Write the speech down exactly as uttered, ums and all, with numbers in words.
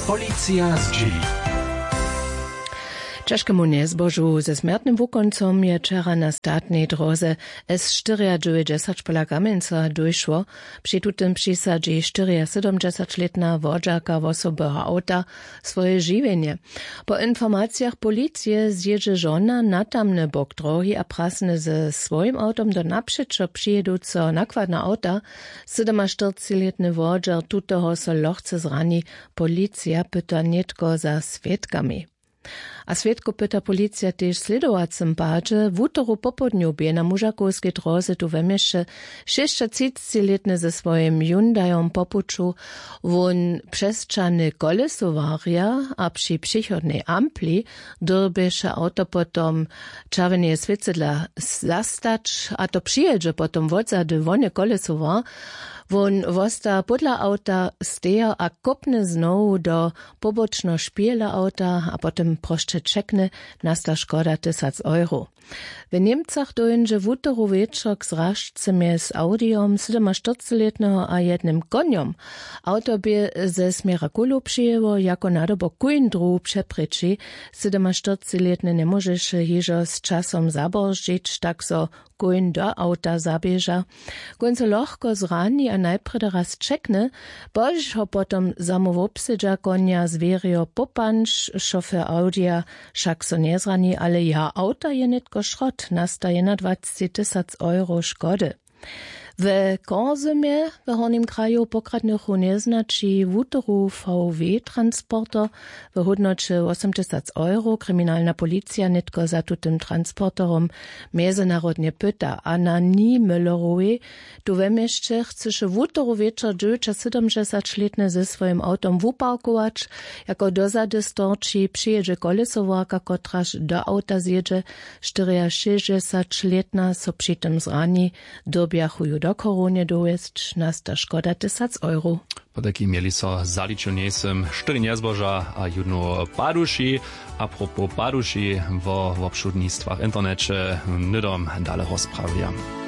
Policija zdźěli. Ćežkemu njezbožu ze smjertnym wukoncom je wčera na statnej dróze S štyriadźewjećdźesat pola Kamjenca dóšło. Při tutym přisadźi štyriasydomdźesaćlětna wodźarka wosobeho awta swoje žiwjenje. Po informacijach policije zjědźe žona na tamny bok dróhi a prasny ze swojim awtom do napřećo přijěduceho nakładna awta. Sydomaštyrcćilětny wodźer tutoho so lochce zrani. Policija pyta nětko za swědkami. A swědkow pyta policija tež w slědowacym padźe. Wutoru popołdnju bě na mužakowskej dróze tu we měsće šěsćatřicćilětny ze swojim hyundajom po puću. Wón přesćahny kolesowarja a při přichodnej ampli dyrbješe awto potom čerwjeneje swěcydla zastać a to přijědźe potom wotzady wone kolesowar. Wón wosta pódla awta stejo a kópny znowu do pobočneho špihela awta a potom prosće ćekny. Nasta škoda tysac euro. W němcach dóńdźe wutoru wječor k zražce mjez awdijom sydomaštyrcćilětneho a jednym konjom. Awto bě ze směra kulow přijěło jako nadobor kóń druhu přeprěči. Sydomaštyrcćilětny njemóžeše hižo z časom zaborzdźić tak zo kóń do awta zaběža. Kóń so lochko zrani a najprjedy raz ćekny, pozdźišo potom zamołwobsedźa konja zwěrijo popanč šofer awdija. Wšak so njezrani ale jeho awta je nětko šrot nasta jednadwacci tysac euro škody. We korzymje w hornim kraju pokradnychu njeznaći wutoru vw transporter w hódnoće wosomtysac euro kriminalna policija nětko za tutym transporterom mjezynarodnje pyta a na ni müllerowej tu we měsće chcyše wutoru wječor dźewjećasydomdźesaćlětny ze swojim awtom wuparkować. Jako dozady storči přijědźe kolesowarka kotraž do awta zjědźe. Štyriašěsćdźesaćlětna so při tym zrani. Dyrbjachu ju do chorownje dowjesć nasta škoda tysac euro. Potajki měli so zaličil njejsym štyri njezboža a jónu paduši. A propos paduši, wo wobšudnistwach w interneće hnydom dale rozprawja.